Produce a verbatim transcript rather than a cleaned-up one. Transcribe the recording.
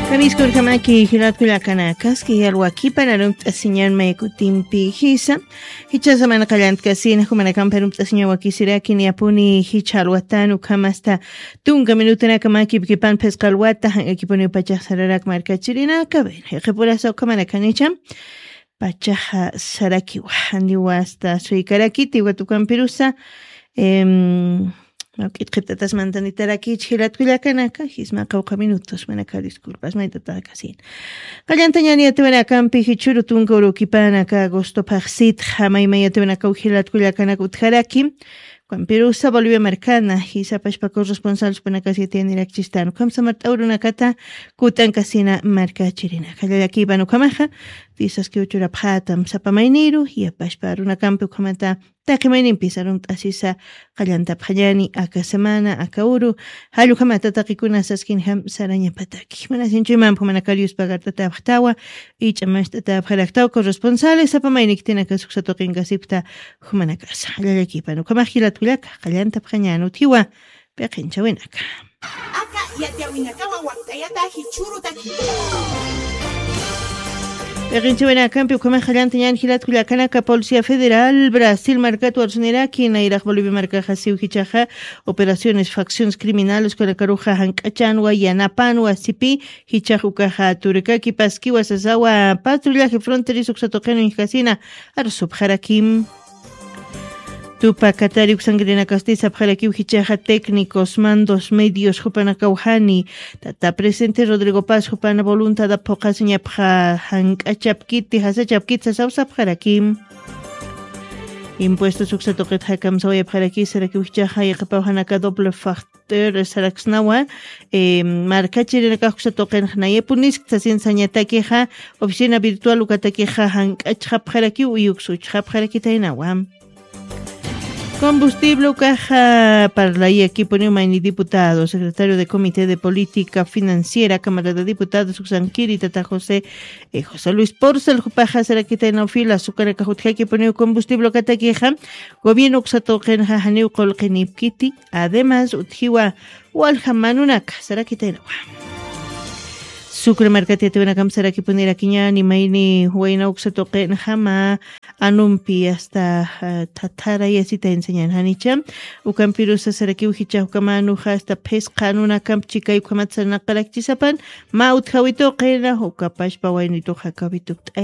Kamiskurkamaki jilatkullakanakaski yalwakipan arumt'asiñan maykutimpi jisa. Jichasa mana qallantkasin jumanakampi arumt'asiñan wakisirakin yapuni jicha alwatan ukhamasta tunka minutanakamakip kipan phisqa alwata jank'akipuni pachax sararak markachirinaka. Bueno, jiqipurasa ukhamanakanicham pachaxa sarakiwa, niwasta suykarakiti watukampirusa. Em, mawk'it qhipt'atas mantanitarakichi jilatkullakanaka jisma qawqha minutos manaka disculpas maytatakasin. Qallantañani yatiwanakampi jichuru tunka urukipanaka agosto phaxsitxa maymay yatiwanakaw jilatkullakanaka utjaraki. Kampirusa bolivia markana jisapashpa corresponsal supanakas yatiyanirakchistan ukham samart'awrunakata kut'ankasina markachirinaka llallakipan ukhamaxa. Tisaski uchurapxatam sapa mayniru yapashpa runakampi ukhamata taqi mayninpis arumt'asisa. Qallantapxañani aka semana aka uru jallukhamata taqikuna saskinjam sarañapataki mana sinchuymanpxu manakarius pagart'atapxtawa. Ich'a masht'atapxaraktaw corresponsales sapa mayniktinaka suksa tuqinkasipxta. Jumanakasa llallakipan ukhamax jilatkullaka qallantapxañan utjiwa. Piqinchawinaka aka yatiyawinakawa wakt'ayata jichhurutaki. Piqinchawinakampi ukhamax qallantañan jilatkullakanaka policía federal brasil markat warsuniraki nayraq bolivia markaxa siw jichaxa operaciones facciones criminales ukanakaruxa jank'achanwa yanapanwa sipi jichax ukaxa turkaki paskiwa sasawa patrullaje fronterizo uksatuqin uñjkasina arsupxarakim. Tupa katari uksankirinakasti sapxarakiw jichaxa técnicos mandos medios jupanakawjani tata presidente rodrigo paz jupana voluntad aphuqasiñapxa jank'achapkiti jasachapkiti sasawsapxarakim. Impuestos uksatuqit jakamsawayapxaraki sarakiw jichaxa yaqapawjanaka doble fax ter saraksnawa. Markachirinakax uksa tuqinxa nayapuniskta sasin sañatakixa oficina virtual ukatakixa jank'achxapxarakiw uyuksa uchxapxarakitaynawa. Combustible ukaxa parlayakipuniw mayni diputado secretario de comité de política financiera camarada diputado suksankiri tata josé josé luis porcel jupaxa sarakitaynaw fila sukanakax utjakipuniw combustible ukatakixa gobierno uksa tuqinxa janiw qulqinipkiti. Además utjiwa walja manunaka sarakitaynawa. Sucre markati yatiwinakam sarakipunirakiñani mayni wayna uksa tuqinjama anumpi asta thathara yasita enseñan janicha. Ukampirusa sarakiw jicha ukamanu jasta phisqa anunakamp chikay ukamat saranaqarakchisapan ma utjawi tuqina ukapashpa wayni tuqakawi tukt'ayat.